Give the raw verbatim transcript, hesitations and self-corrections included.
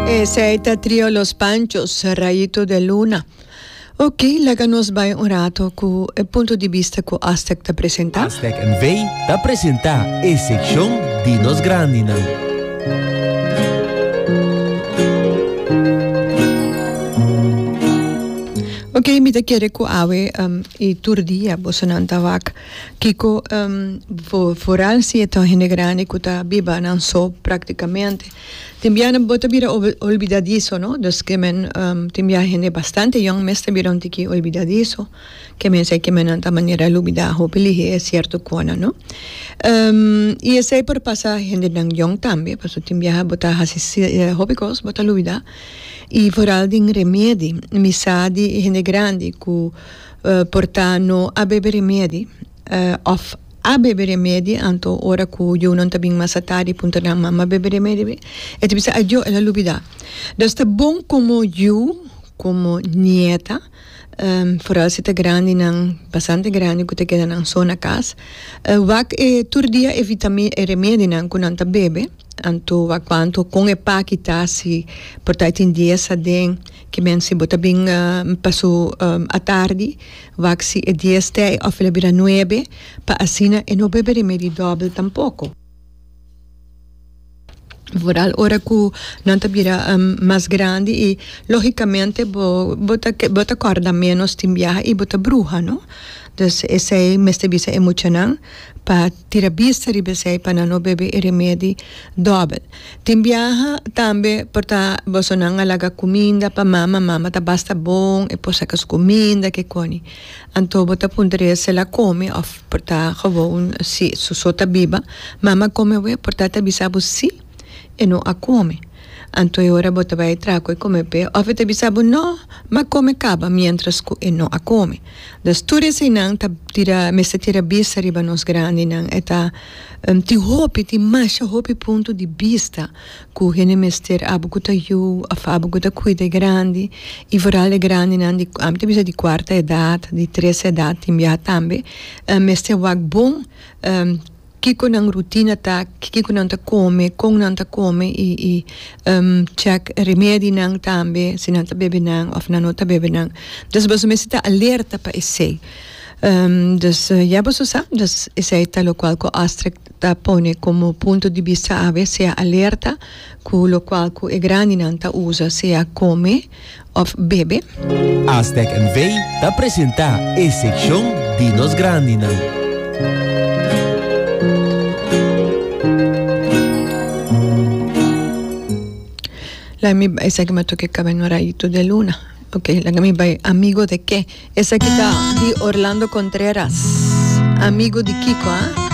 Esey ta Trio Los Panchos, Rayito de Luna. Ok, laga nos bay un rato cu e punto di bista cu Astec ta presenta. Astec N V ta presenta e seccion di nos grandinan. Ok, mi ta kere cu awe um, y tur dia bosonan ta wak kiko um, vooral si e ta hende grandi cu ta biba nan so practicamente. Tin biaha bo ta bira olvidadizo, no? Dus ke men um, tin biaha hende bastante yong mes ta bira un tiki olvidadizo. Ke men sei ke men nan ta manera lubida hopi lihe e cierto kona, no? Um, y esei por pasa hendenan yong tambe, paso tin biaha bo ta hasi hopi kos, bo ta lubida. Y vooral den remedi, mi sa di hende grandi ku uh, por ta no a bebe remedi, uh, of a bebe remedi, anto ora ku yunan ta bin mas atardi puntra nan mama bebe remedi be, e ta bisa ajo el a lubida. Dus ta bon komo yu, komo nieta, um, vooral si ta grandinan, bastante grandi ku ta keda nan so na kas, uh, wak e tur dia e vitami e remedinan ku nan ta bebe, anto wak kuantu kon e paki ta, si por ta e tin dies aden, ke men si bo ta bin uh, pa su um, atardi, wak si e dies ta ei of el a bira nuebe, pa asina e no bebe remedi dòbel tampoko. Vooral ora ku nan ta bira um, mas grandi i logicamente bo, bo ta, bo ta kòrda ménos tin biaha i bo ta bruha, no? Dus esei mester bisa e muchanan pa tira bista riba esei pa nan no bebe e remedi dòbel. Tin biaha tambe por ta bosonan a laga kuminda pa mama, mama ta basta bon, e por saka su kuminda ke koni. Anto bo ta puntra si el a kome òf por ta gewoon si su so ta biba, mama kome awe, por ta ta bisa bo si e no a kome. Anto e ora bo ta bai traha ku e kome p'e òf e ta bisa bo no, m'a kome kaba miéntras ku e no a kome. Dus tur eseinan ta tira mester tira bista riba nos grandinan. E ta tin hopi, tin masha hopi punto di bista ku hende mester abo ku ta yu òf abo ku ta kuida e grandi i vooral e grandinan di ami ta bisa di kuarta edat, di tres edat tin biaha tambe mester wak bon. Kiko nan rutina ta, kiko nan ta kome, kon nan ta kome i i check remedinan tambe si nan ta bebe nan of nan no ta bebe nan. Dus boso mester ta alerta pa esei. Dus ya boso sa, dus esei ta lokual ku Astrid ta pone komo punto di bista awe, sea alerta ku lokual ku e grandinan ta usa, sea kome of bebe. Aztec N V ta presenta e seccion di nos grandinan. Laga mi bai, esaki mi a toca e caba en un rayito de luna. Ok, laga mi bai Amigo de qué. Esaki ta di Orlando Contreras. Amigo di Kiko, ah?